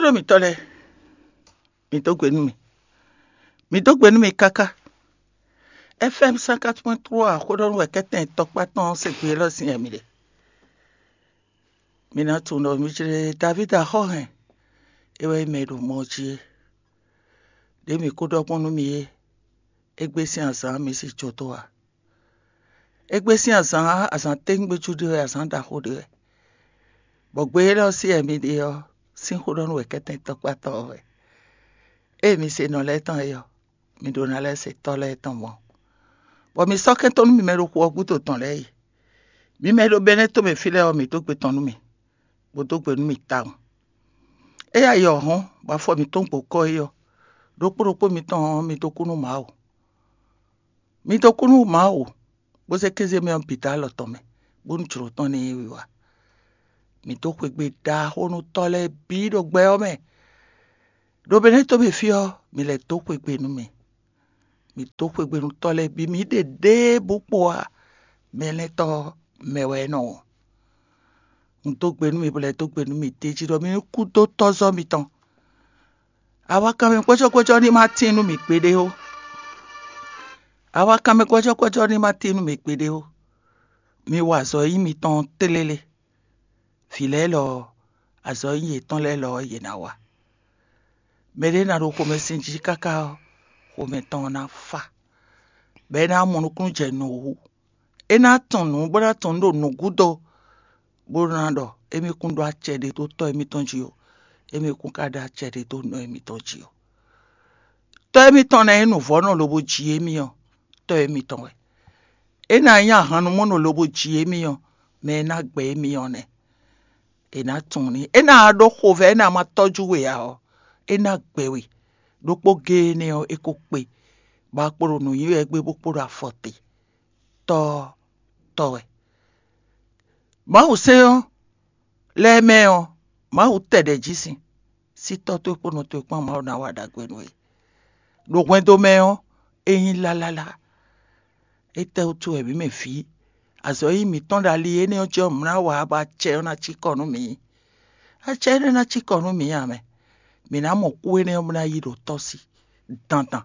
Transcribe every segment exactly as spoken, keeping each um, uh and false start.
Ɖó mǐtɔn lɛ́ɛ, mǐ dó gbe nú mì. Mǐ dó gbe nú mì káká. F M cent quatre point trois xó ɖɔ nú wɛ kɛ́tɛn tɔkpá tɔn se gbe élɔ́ sín ɛmí ɖe. Mi ná tunwun ɖɔ mi jlé Davídi axɔ́ hɛn, é wɛ nyí mɛ e ɖo mɔ jí é. Ɖě mǐ ko ɖɔ gbɔn nú mi é, égbé sín azǎn mi sí jǒ dó ǎ. Égbé sín azǎn, azǎn téŋgbéjú ɖé wɛ, azǎn ɖaxó ɖé wɛ. Bɔ gbe élɔ́ sí wɛ mi ɖe ɔ́, sín xó ɖɔ nú wɛ kɛ́tɛn tɔkpá tɔn ɔ́ wɛ. Ée mi se nɔ lɛ́ɛ tɔn é ɔ́, mi ɖó ná lɛ́ se tɔ́ lɛ́ɛ tɔn mɔ̌. Bɔ mi sɔ́ kɛ́n tɔn nú mi mɛ ɖo xu ɔ́ gúdo tɔn lɛ́ɛ yi. Mi mɛ e ɖo Bɛnɛ́ tomɛ fí lɛ́ɛ ɔ́, mǐ dó gbe tɔn nú mì, bó dó gbe nú mì tawun. Éyɛ́ ayǐ ɔ́ hɔ́n, bɔ afɔ mǐtɔn gbo kɔ́ é ɔ́, ɖokpó ɖokpó mitɔn ɔ́, mi dó kú nú Mawu. Mi dó kú nú Mawu, bó zé kéze mɛ ɔ́ bǐ dó alɔ tɔn mɛ, bónú jlǒ tɔn ní yi wiwa. Mǐ dó xwegbe ɖaxó nú tɔ́ lɛ́ɛ bǐ ɖo gbɛ ɔ́ mɛ. Ɖo Bɛnɛ́ tomɛ fí ɔ́, mi lɛ́ dó xwegbe nú mì. Mǐ dó xwegbe nú tɔ́ lɛ́ɛ bǐ, mǐ ɖe ɖěbǔ kpo ǎ. Mɛ lɛ́ɛ tɔ́ mɛ wɛ é nɔ wɔn. Un dó gbe nú mi, bó lɛ́ dó gbe nú mi d'é jí ɖɔ mi ní kú dó tɔ́zɔ́ mitɔn. Awakanmɛ gbɔ́jɔ́gbɔ́jɔ́ ní ma tín nú mì gbeɖé ó. Awakanmɛ gbɔ́jɔ́gbɔ́jɔ́ ní ma tín nú mì gbeɖé ó. Mi wa azɔ̌ e nyí mitɔn tlélé. Vǐ lɛ́ɛ lɔ ɔ́, azɔ̌ e nyí yětɔn lɛ́ɛ lɔ ɔ́, yě ná wa. Mɛɖé ná ɖo xomɛsin jí káká ɔ́, xomɛ tɔn ɔ́ ná fá, bɔ é ná mɔ nukúnnú jɛ nǔ wú. É ná tunwun nǔ, bó ná tunwun nǔ ɖo nǔ gúdo, bó ná ɖɔ émí kún ɖó acɛ ɖé dó tɔ́ émítɔn jí ó, émí kún ka ɖó acɛ ɖé dó nɔ émítɔn jí ó. Tɔ́ émítɔn ná nyí nǔvɔ́nɔ lobo ji émí ɔ́, tɔ́ émítɔn wɛ. É ná nyí ahannumɔnɔ lobo ji émí ɔ́, mɛ e ná gbɛ émí ɔ́ nɛ́. È nǎ tunwun ní. É ná ɖó xovɛ́, é ná ma tɔ́jú we ǎ ɔ́, é ná gbɛ we. Ɖokpó géé énɛ́ ɔ́, é ko kpe, bɔ a kpo ɖo nǔ nyi wɛ gbé bó kpo ɖo afɔ te. Tɔ́ ɔ́, tɔ́ wɛ. Mawu sɛ́n ɔ́ lɛ́ɛ mɛ ɔ́, Mawu tɛ ɖɛ̌ jí sin. Sí tɔ́ towe kpó nɔ towe kpán Mawu ná wa ɖagbe nú we. Ɖo hwɛndo mɛ ɔ́, é nyí lalala. Étɛ́wútu wɛ mǐ mɛ vǐ? Azɔ̌ e nyí mǐtɔn ɖo ali énɛ́ ɔ́ jí ɔ́, mǐ ná wa bɔ acɛ ɔ́ ná cí kɔ nú mǐ. Acɛ énɛ́ ná cí kɔ nú mǐ ǎ mɛ. Mǐ ná mɔ kú énɛ́ ɔ́ bó ná yi ɖo tɔ́ sí dandan.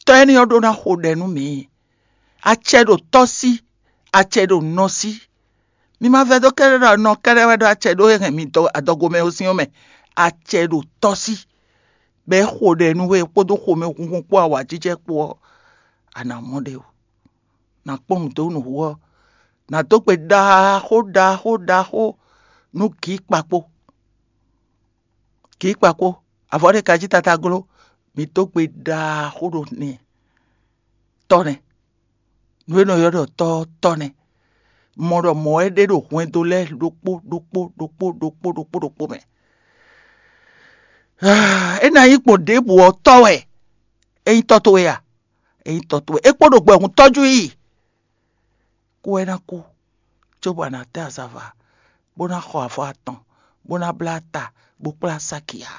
Tɔ́ énɛ́ ɔ́ ɖó ná xo ɖɛ nú mǐ. Acɛ ɖo tɔ́ sí, acɛ ɖo nɔ sí. Mi ma vɛdó kɛ́ɖɛ́ ɖɔ nɔ kɛ́ɖɛ́ wɛ ɖó acɛ ɖó e hɛn mi dɔ adɔgomɛ ɔ́ sín ɔ́ mɛ. Acɛ ɖo tɔ́ sí, bɔ é xo ɖɛ nú we kpódó xomɛhunhun kpó awǎjijɛ kpó ɔ́, a nǎ mɔ ɖě o. Nǎ kpɔ́n nǔ dó nǔ wú ɔ́, nǎ dó gbe ɖaxó ɖaxó ɖaxó nú gǐ kpakpó. Gǐ kpakpó, avɔ ɖé ka jí tata gló, mi dó gbe ɖaxó ɖo n'i. Tɔ́ nɛ́. Nǔ e nɔ ylɔ́ ɖɔ tɔ́ ɔ́, tɔ́ nɛ́. Mɔ ɖɔ mɔ̌ wɛ ɖe ɖo hwɛndo lɛ́ɛ ɖokpó ɖokpó ɖokpó ɖokpó ɖokpó ɖokpó mɛ. É ná nyí gbɔn ɖěbǔ ɔ́, tɔ́ wɛ. É nyí tɔ́ towe a? É nyí tɔ́ towe. É kpo ɖo gbɛ hun tɔ́jú i. Kú wɛ ná kú, cóbɔ a nǎ tɛ́ azava, bó ná xɔ avɔ atɔn, bó ná blá ta, bó kplá sáki ǎ.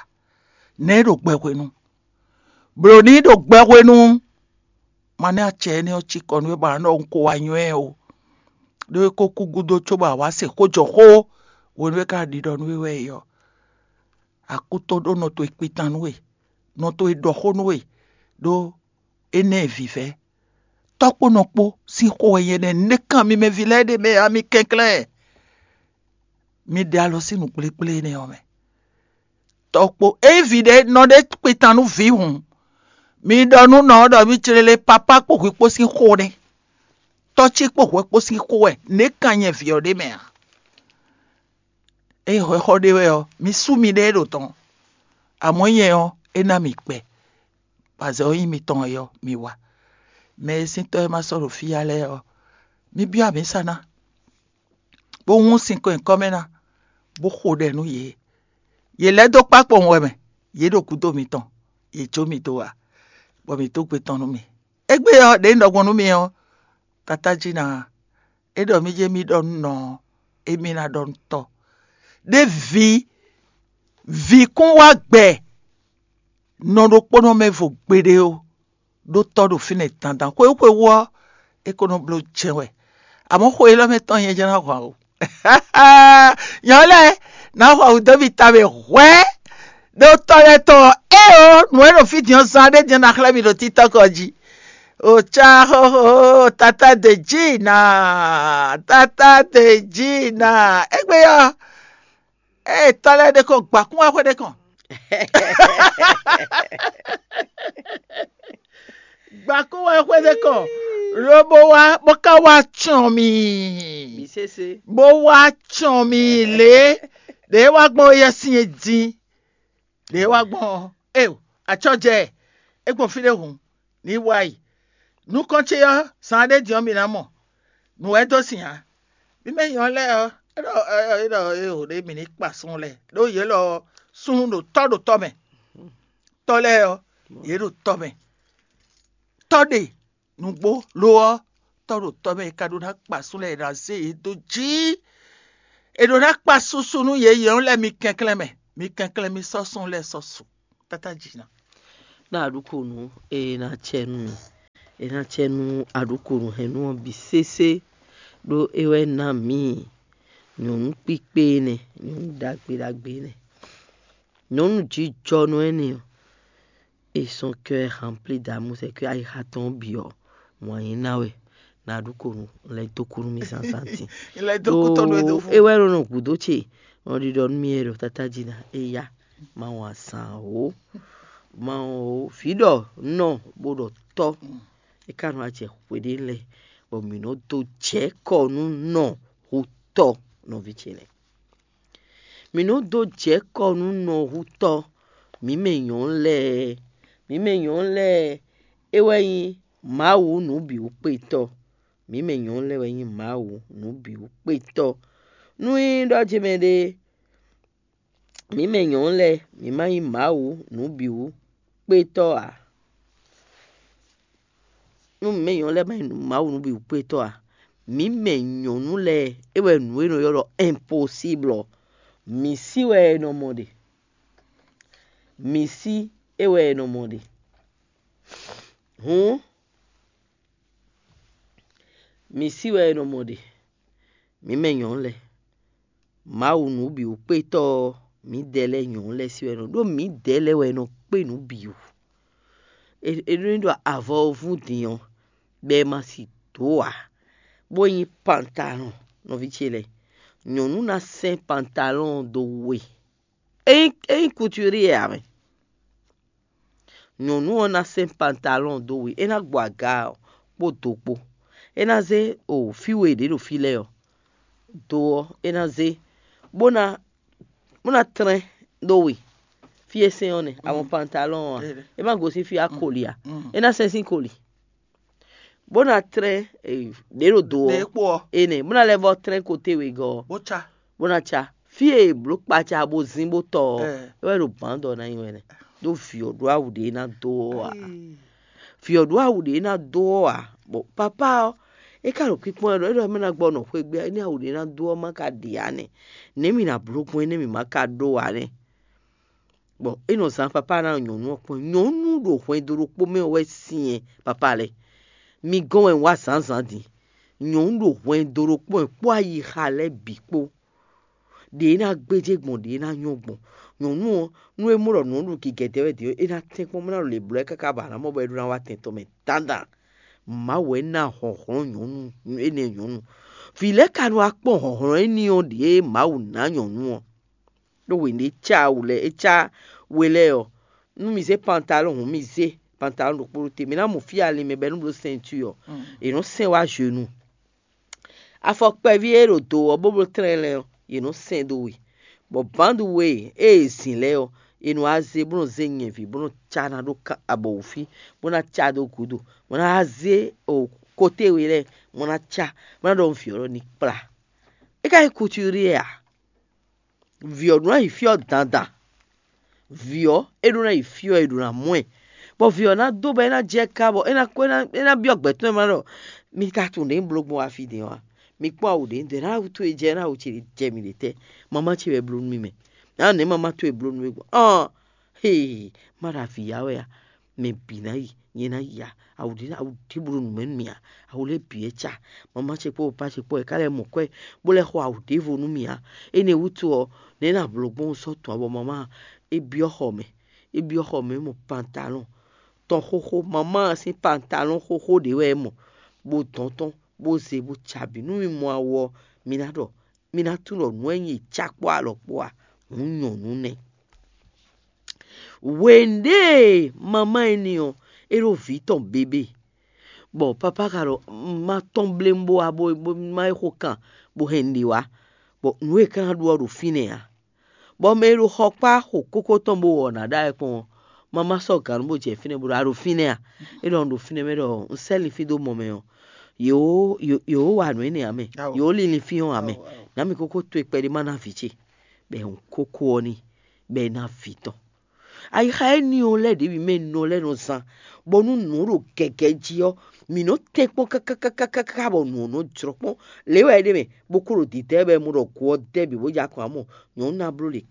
Nɛ̌ é ɖo gbɛ hwenu? Blǒ n'i ɖo gbɛ hwenu. Ma nɛ́ acɛ énɛ́ ɔ́ cí kɔ nú we bɔ a nɔ ɖɔ un ko wá nywɛ́ ɛ o. Ɖó é ko kú gúdo cóbɔ a wǎ se xó jɔ xó, hwenu e é ka ɖiɖɔ nú we wɛ é ɔ́. Akúto ɖó nɔ towe kpitan nú we, nɔ towe ɖɔ xó nú we, ɖó énɛ́ vǐvɛ́. Tɔ́ kpó nɔ kpó sín xó wɛ nyɛ ɖɔ nɛ́ kan mi mɛ ví lɛ́ɛ ɖe mɛ ǎ, mi kɛnklɛ́n. Mi ɖe alɔ sín nǔkplékplé énɛ́ ɔ́ mɛ. Tɔ́ kpó ényí vǐ ɖé nɔ ɖe kpitan nú vǐ hǔn, mi ɖɔ nú nɔ ɔ́ ɖɔ mi clélé papá kpó hwǐ kpó sín xó nɛ́. Tɔ́ cí kpó hwɛ kpó sín xó wɛ nɛ́ kan nyɛ vǐ ɔ́ ɖe mɛ ǎ. Ényí hwɛxɔ ɖé wɛ ɔ́, mi sú miɖée ɖo tɔn. Amɔ̌ nyɛ ɔ́, é ná mi kpɛ. Bɔ azɔ̌ e nyí mitɔn é ɔ́, mi wa. Mɛ e sín tɔ́ e ma sɔ́ ɖo fí ya lɛ́ɛ ɔ́, mi byɔ́ amǐsa ná, bó hún sinkɔn nyǐkɔ mɛ ná, bó xo ɖɛ nú yě. Yě lɛ́ dó kpá kpowun wɛ mɛ, yě ɖo gǔdo mitɔn, yě jó mi dó wa, bɔ mǐ dó gbe tɔn nú mi. Égbé ɔ́, ɖě un ɖɔ gbɔn nú mi ɔ́, tatájí ná, é ɖɔ mì jɛ mì ɖɔ nú nɔ ɔ́, émí ná ɖɔ nú tɔ́. Ɖé vǐ, vǐ kún wá gbɛ nɔ ɖokpónɔ mɛ vo gbeɖé ó, ɖó tɔ́ ɖo fínɛ́ dandan. Xwé xwé wú ɔ́, é ko nɔ bló jɛ́n wɛ. Amɔ̌ xwe élɔ́ mɛ tɔn nyɛ jɛ́n ná hwan o. Nyɔ̌ lɛ́ɛ ná hwan wǔ dó mi ta mɛ hwɛ̌. Ɖo tɔ lɛ́ɛ tɔn ɔ́, éeǒ, nǔ e ɖo fí din ɔ́ zán ɖé din ɔ́ ná xlɛ́ mi ɖo TikTɔk ɔ́ jí. Oca xóxó, tata de jí nǎ, tata de jí nǎ. Égbé ɔ́, ée tɔ lɛ́ɛ ɖé kɔn gbǎkún wá xwé ɖé kɔn. Gbǎkún wá xwé ɖé kɔn, lobo wá bó ka wá cɔn mì. Bó wá cɔn mì lě ɖě wá gbɔn yɛ sin e din. Lě wá gbɔn ɔ́, eo, acɔ́ jɛ ɛ, é gbɔn fí ɖé hǔn, ní wá yi. Nukɔn ce ɔ́, zan ɖé din ɔ́, mi ná mɔ nǔ wɛ dó sin ǎ. Mi mɛ nyɔ̌ lɛ́ɛ ɔ́, é ɖɔ é ɖɔ é ɖɔ eo ɖě mǐ ní kpa súnnu lɛ́ɛ, ɖó yě lɔ súnnu ɖo tɔ́ ɖo tɔ́ mɛ. Tɔ́ lɛ́ɛ ɔ́, yě ɖo tɔ́ mɛ. Tɔ́ ɖe nǔgbó lo ɔ́, tɔ́ ɖo tɔ́ mɛ e ka ɖó ná kpa súnnu lɛ́ɛ, è nǎ zé yě dó jí. È ɖǒ ná kpa susu nú yě yě lɛ́ɛ mi kɛnklɛ́n mɛ. Mi kɛnklɛ́n mi sɔ́ súnnu lɛ́ɛ sɔ́ su. Tata jǐ ná. Ɖó aɖǔkonu e ná cɛ nú mi, e ná cɛ nú aɖǔkonu hɛn nú ɔ́ bǐ sésé, ɖó é wɛ ná mǐ nyɔ̌nu kpíkpé énɛ́, nyɔ̌nu ɖagbe ɖagbe énɛ́, nyɔ̌nu jǐjɔnɔ énɛ́ ɔ́, et son cœur rempli d'amour, c'est que ayixa tɔn bǐ ɔ́, mɔ̌ nyi ná wɛ ná ɖu ko nú lɛ́ dó kú nú mì zǎnzǎn din. Lɛ́ dó kú tɔn nú é dó fún. É wɛ nɔ gǔdo ce nɔ ɖiɖɔ nú mì wɛ ɖɔ tata jí ná é yá ma wɔn azǎn o, ma wɔn o, vǐ ɖɔ nɔ bó ɖɔ tɔ́. É ka nɔ acɛ xwe ɖé lɛ́ɛ bɔ mǐ nɔ dó jɛ kɔ nú nɔ hú tɔ́ nɔví ce lɛ́ɛ. Mǐ nɔ dó jɛ kɔ nú nɔhutɔ́, mǐ mɛ nyɔ̌nu lɛ́ɛ. Mǐ mɛ nyɔ̌nu lɛ́ɛ, é wɛ nyí Mawu nǔbǐwúkpetɔ́. Mǐ mɛ nyɔ̌nu lɛ́ɛ wɛ nyí Mawu nǔbǐwúkpetɔ́. Nú é nyí ɖɔ ce mɛ ɖé, mǐ mɛ nyɔ̌nu lɛ́ɛ, mǐ ma nyí Mawu nǔbǐwúkpetɔ́ ǎ. Nú mǐ mɛ nyɔ̌nu lɛ́ɛ ma nyí Mawu nǔbǐwúkpetɔ́ ǎ, mǐ mɛ nyɔ̌nu lɛ́ɛ, é wɛ nǔ e nɔ ylɔ́ ɖɔ impossible ɔ́, mǐ sí wɛ è nɔ mɔ ɖe. Mǐ sí é wɛ è nɔ mɔ ɖe. Hǔn, mǐ sí wɛ è nɔ mɔ ɖe. Mǐ mɛ nyɔ̌nu lɛ́ɛ, Mawu nǔbǐwúkpetɔ́ ɔ́, mǐdɛɛ lɛ́ɛ nyɔ̌nu lɛ́ɛ sí wɛ nɔ ɖó mǐdɛɛ lɛ́ɛ wɛ nɔ kpé nǔ bǐ wú. È ɖó ní ɖɔ avɔ ɔ́ vún din ɔ́, bɔ è ma si dǒ ǎ, bó nyí pantalɔn nɔví ce lɛ́ɛ. Nyɔ̌nu ná sɛ́n pantalɔn ɔ́ dó we. É nyí é nyí kutúrí ǎ mɛ. Nyɔ̌nu ɔ́ ná sɛ́n pantalɔn dó we, é ná gbɔ aga ɔ́ kpó do kpó. É ná zé o fí we ɖě ɖo fí lɛ́ɛ ɔ́, do ɔ́ é ná zé, bó ná bó ná tlɛ́n dó we. Fí e sɛ́n ɔ́ nɛ́, àwọn pantalɔn ɔ́ a, é má gosín fí akoli ǎ. É ná sɛ́n sín koli, bó ná tlɛ́n ɖě ɖo do ɔ́ énɛ́, bó ná lɛ́ vɔ́ tlɛ́n koté wegɔ́ ɔ́, bó ná cá. Fí e è blǒ kpaca bó zín bó tɔ ɔ́, é wɛ ɖo bǎndɔ ná nyi wɛ nɛ́, ɖó vǐ ɔ́ ɖó awu ɖě ná dó ɔ́ ǎ. Vǐ ɔ́ ɖó awu ɖě ná dó ɔ́ ǎ, bɔ papá ɔ́, é ka ɖo kpíkpɔ́n wɛ ɖɔ é ɖɔ mɛ ná gbɔ nɔ xwé gbé, énɛ́ awu ɖě ná dó ɔ́ má ka ɖi ǎ nɛ́, nɛ̌ mǐ ná bló gbɔn énɛ́ mǐ má ka ɖó ǎ nɛ́. Bɔ é nɔ zán papá ná nyɔ̌nu ɔ́ kpɔ́n. Nyɔ̌nu ɖo hwɛndo ɖokpó mɛ wɛ syɛn papá lɛ́ɛ. Mi gɔ́n wɛ un wá zǎnzǎn din. Nyɔ̌nu ɖo hwɛndo ɖokpó mɛ kpó ayixa lɛ́ɛ bǐ kpó. Ɖě é ná gbéjé gbɔn, ɖě é ná nyɔ́ gbɔn. Nyɔ̌nu ɔ́, nú é mɔ ɖɔ nǔ ɔ́ ɖo gǐgɛ̌ dɛ́ wɛ din ɔ́, é ná tɛ́n kpɔ́n bó ná ɖo lě blɔ́ ɛ káká bɔ a nǎ mɔ bɔ é ɖó ná wá tɛn tɔn mɛ dandan. Mawu wɛ ná hlɔ̌nhlɔ́n nyɔ̌nu énɛ́ nyɔ̌nu. Vǐ lɛ́ɛ ka nɔ wá kpɔ́n hlɔ̌nhlɔ́n éní ɔ́ ɖě Mawu ná nyɔ̌nu ɔ́. Ɖó hwenu e é cá awu lɛ́ɛ, é cá we lɛ́ɛ ɔ́, nú mi zé pantalɔn hǔn, mi zé pantalɔn ɖokpó ɖó te. Mi ná mɔ fí e ali mɛ bɔ é nɔ bló sɛntu ɔ́, è nɔ sɛn wá zenu. Afɔ kpɛví e ɖo do ɔ́, bó bló tlɛnlɛn ɔ́, yě nɔ sɛn dó we. Bɔ bǎndu we e è zǐn lɛ́ɛ ɔ́, è nɔ wá zé bó nɔ zé nyɛ̌ví bó nɔ cá ná ɖó abɔwǔfí, bó ná cá dó gǔdo, bó ná wá zé koté we lɛ́ɛ, bó ná cá, bó ná ɖɔ nú vǐ ɔ́ ɖɔ ní kplá. É ka nyí kutúrí ǎ. Vǐ ɔ́ ɖó ná yi fí ɔ́ dandan. Vǐ ɔ́, é ɖó ná yi fí ɔ́, è ɖǒ ná mɔ ɛ. Bɔ vǐ ɔ́ ná dó bɔ é ná jɛ ká bɔ é ná kó é ná é ná byɔ́ gbɛ̌ tɔn e ma ɖɔ mi ka tunwun ɖě un bló gbɔn wá fí din ɔ́ a? Mi kpɔ́n awu ɖě un ɖe ná awu towe jɛ ná awu ce jɛ mi ɖe tɛ́? Mamá ce wɛ bló nú mi mɛ. Ná nɛ̌ mamá towe bló nú mi gbɔn? Ɔn, hee, má ɖo avǐ ya wɛ a? mɛ bǐ ná yi, nyɛ ná yi ǎ. Awu ɖě awu ɖěbǔ ɖo nǔ mɛ nú mì ǎ. Awu lɛ́ɛ bǐ wɛ ca. Mama ce kpó papa ce kpó wɛ ká lɛ́ mɔ kwɛ́ bó lɛ́ xɔ awu ɖěvo nú mì ǎ. Énɛ́ wútu ɔ́, nɛ̌ ná blǒ gbɔn sɔ́ tɔn ǎ bɔ mama é byɔ́ xɔ mɛ. É byɔ́ xɔ mɛ é mɔ pantalɔ́n tɔn xóxó, mama ɔ́ sín pantalɔ́n xóxó ɖě wɛ é mɔ, bó dɔn tɔn, bó zé bó ca bǐ. Nú mi mɔ awu ɔ́, mi ná ɖɔ mi ná tunwun ɖɔ nǔ e nyí cakpó alɔ kpó a, hǔn nyɔ̌nu nɛ́. Hwěɖée mama énɛ́ ɔ́, é ɖo vǐ tɔn bébé, bɔ papa ka ɖɔ má tɔ́n blé bó wá bó má é xo kan bó hɛn nǔɖé wá, bɔ nǔ e é ka ná ɖu ɔ́ ɖo fínɛ́ ǎ. Bɔ mɛ e ɖo xɔ kpá xo kókó tɔn bó wɔ nǎ ɖa wɛ kpɔ́n ɔ́, má má sɔ́ gǎn bó jɛ fínɛ́ bó ɖɔ a ɖo fínɛ́ a? É ɖɔ un ɖo fínɛ́ mɛ ɖɔ un sɛ́ linfín dó mɔ mɛ ɔ́, yě wǒ yě wǒ wa nǔ énɛ́ ǎ mɛ, yě wǒ lin linfín ɔ́ ǎ mɛ. Nǎ mì kókó towe kpɛɖé má ná vǐ ce, bɔ è hun kókó ɔ́ n'i, bɔ è ná vǐ tɔn. Ayixa énɛ́ ɔ́ lɛ́ɛ ɖě mì mɛ nɔ lɛ́ɛ nɔ zán, bɔ nú nǔ ɖo gɛgɛ jí ɔ́, mǐ nɔ tɛ́nkpɔ́n káká bɔ nǔ ɔ́ nɔ jlɔ́ kpɔ́n. Lě wɛ é ɖe mɛ bó kó ɖo dǐdá ɛ bɔ è mɔ ɖɔ go ɔ́ dɛ́ bǐ bó jɛ akɔn ǎ mɔ, nyɔ̌nu ná bló ɖě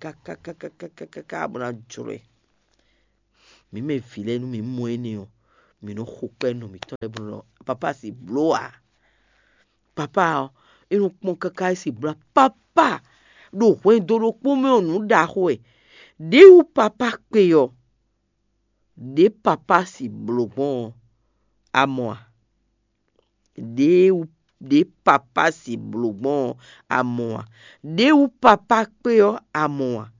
káká bó ná jlɔ́ ɛ. Mǐ mɛ vǐ lɛ́ɛ nú mǐ mɔ énɛ́ ɔ́, mǐ nɔ xo kpɛ́ nɔ mǐtɔn lɛ́ɛ bó nɔ ɖɔ papá si bló ǎ. Papá ɔ́, é nɔ kpɔ́n káká é si bló ǎ. Papá ɖo hwɛndo ɖokpó mɛ ɔ́, nǔ ɖaxó wɛ. Ɖěwú papá kpe ɔ́, ɖě papá si blǒ gbɔn ɔ́, a mɔ a? Ɖěwú ɖě papá si blǒ gbɔn ɔ́, a mɔ a? Ɖěwú papá kpe ɔ́, a mɔ a?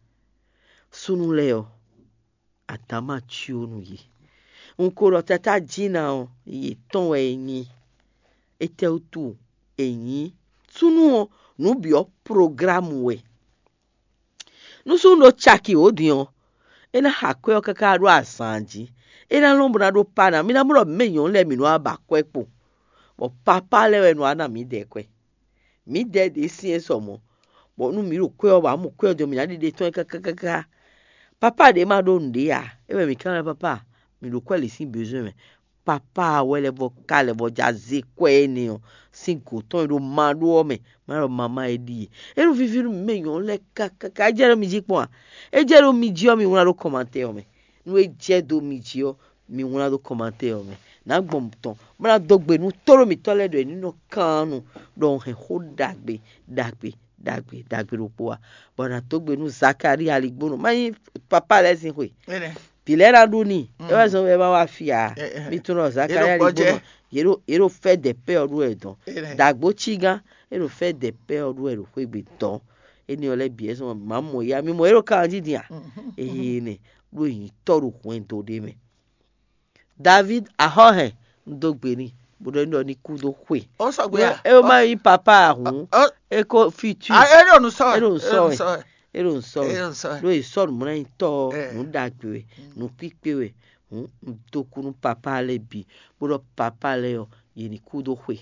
Súnnu lɛ́ɛ ɔ́, adǎn ma cyó nú yě. Un ko ɖɔ tatá Jina ɔ́, yětɔn wɛ é nyí. Étɛ́wútu è nyǐ? Súnnu ɔ́, nǔ bǐ ɔ́, programu wɛ. Nú súnnu ɖo caki wǒ din ɔ́, é ná xa kwɛ́ ɔ́ káká ɖó azǎn jí. É ná lɔn bó ná ɖó pá ná. Mi ná mɔ ɖɔ mǐ mɛ nyɔ̌nu lɛ́ɛ mǐ nɔ wá ba kwɛ́ kpo, bɔ papá lɛ́ɛ wɛ nɔ wá ná mǐdɛɛ kwɛ́. Mǐdɛɛ ɖě syɛ́n sɔ mɔ̌, bɔ nú mǐ ɖo kwɛ́ ɔ́ ba mɔ kwɛ́ ɔ́ din ɔ́, mǐ ná ɖiɖe tɔn ɛ káká. Papá ɖě ma ɖó nǔɖé ǎ, é wɛ mǐ ká ná papá, mǐ ɖo kwɛ́ lě sín bezwɛ́n mɛ. Papá wɛ lɛ́ vɔ ká lɛ́ vɔ já zé kwɛ́ énɛ́ ɔ́ sín gǒ tɔn e ɖo ma ɖó ɔ́ mɛ, má ɖɔ mamá é ɖíe. É nɔ víví nú mǐ mɛ nyɔ̌nu lɛ́ɛ káká. É jɛ ɖó mi jí kpɔ́n a? É jɛ ɖó mi jí ɔ́, mi wlán ɖó kɔmantɛ́ ɔ́ mɛ. Nú é jɛ dó mi jí ɔ́, mi wlán dó kɔmantɛ́ ɔ́ mɛ. Nǎ gbɔn tɔn bó ná dó gbe nú tóɖó mǐtɔn lɛ́ɛ ɖɔ è ní nɔ kan nu ɖɔ un hɛn xó ɖagbe ɖagbe ɖagbe ɖagbe ɖokpó a? Bɔ nǎ dó gbe nú Zakalíi aligbónɔ, má nyí papá lɛ́ɛ sín xwe. Vǐ lɛ́ɛ ná ɖu n'i, é wɛ zɔn bɔ é ma wá fí ǎ. Mi tunwun ɖɔ Zakalíi aligbónɔ, yě ɖo yě ɖo fɛ́ dɛ̌ pɛ́ ɔ́ ɖu wɛ dɔn. Dǎgbó cígán, é ɖo fɛ́ dɛ̌ pɛ́ ɔ́ ɖu wɛ ɖo xwé gbe dɔn. Énɛ́ ɔ́ lɛ́ɛ bǐ wɛ zɔn bɔ mǐ ma mɔ yá, mi mɔ é ɖo kanjí din a? Eye nɛ ɖó nyǐtɔ́ ɖo hwɛndo ɖé mɛ. David axɔ́hɛn un dó gbe n'i, bó ɖɔ ní ɖɔ ní kú dó xwe. Ó sɔgbe a? É má nyí papa a hǔn, é ko fitú. É ɖo nǔ sɔ wɛ. É ɖo nǔ sɔ wɛ. É ɖo nǔ sɔ wɛ. Ɖó è sɔ́ nǔmlɔ́nyitɔ́ ɔ́, nǔ ɖagbe wɛ, nǔ kpíkpé wɛ. Hǔn un dó kú nú papa lɛ́ɛ bǐ, bó ɖɔ papa lɛ́ɛ ɔ́, yě ní kú dó xwe.